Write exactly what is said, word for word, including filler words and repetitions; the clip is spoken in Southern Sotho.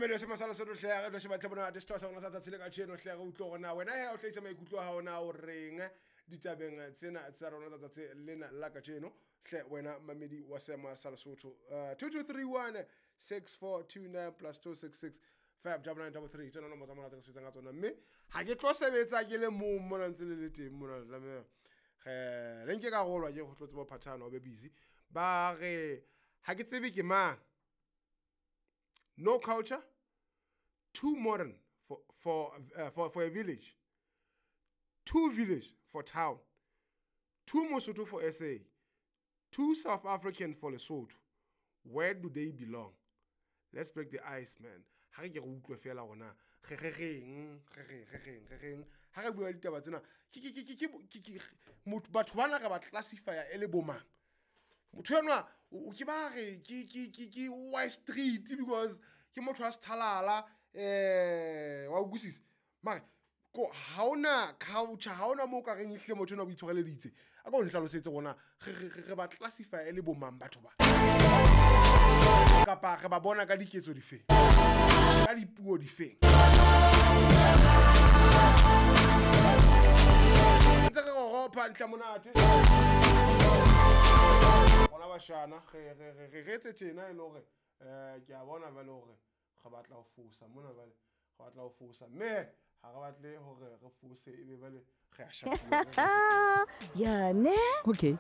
Mamedi se masala se hle re tlo sheba tle bona sehlooho sa rona sa tsatsi le kajeno hle re utlwe hore na wena he o hlahisa maikutlo a hao na o reng ditabeng tsena tsa rona tsa tsatsi lena la kajeno hle wena mamedi wa seema sa Lesotho. two two three one six four two nine plus two six six five double nine double three tsona nomoro tsa mona tse re sebetsang ka tsona mme ha ke tlo sebetsa ke le mong mona ntse le le teng mona le tlameha re le nke karolo ke go tlo tseba ho phathana o be busy ba re ha ke tsebe ke mang. No culture, too modern for for uh, for for a village, too village for town, too Mosotho for S A, too South African for Lesotho. Where do they belong? Let's break the ice, man. Ha re ke re utlwe fela hore na re re reng, re reng, re reng, re reng. Ha re bua ditaba tsena, ke, ke, ke, ke, ke, ke, ke, motho, batho bana re ba classify e le bo mang? Motho enwa, o, o ke ba re, ke, ke, ke, ke Y Street because ke motho wa sethalala, eh, wa utlwisisa. Mare, ko ha hona culture, ha hona moo o ka reng ehlile motho enwa o itshwareleditse. A ko nhlalosetse hore na re, re, re, re ba classify e le bo mang batho ba? Kapa re ba bona ka diketso difeng? Ka dipuo difeng? Ntse re ropa ntle monate. Rona bashana, re, re, re, re, re etse tjena e le hore, eh, ke a bona jwale hore re batla ho fosa mona jwale, re batla ho fosa. Mme ha re batle hore re fose ebe jwale re a shapuwa. Ya ne? Okay.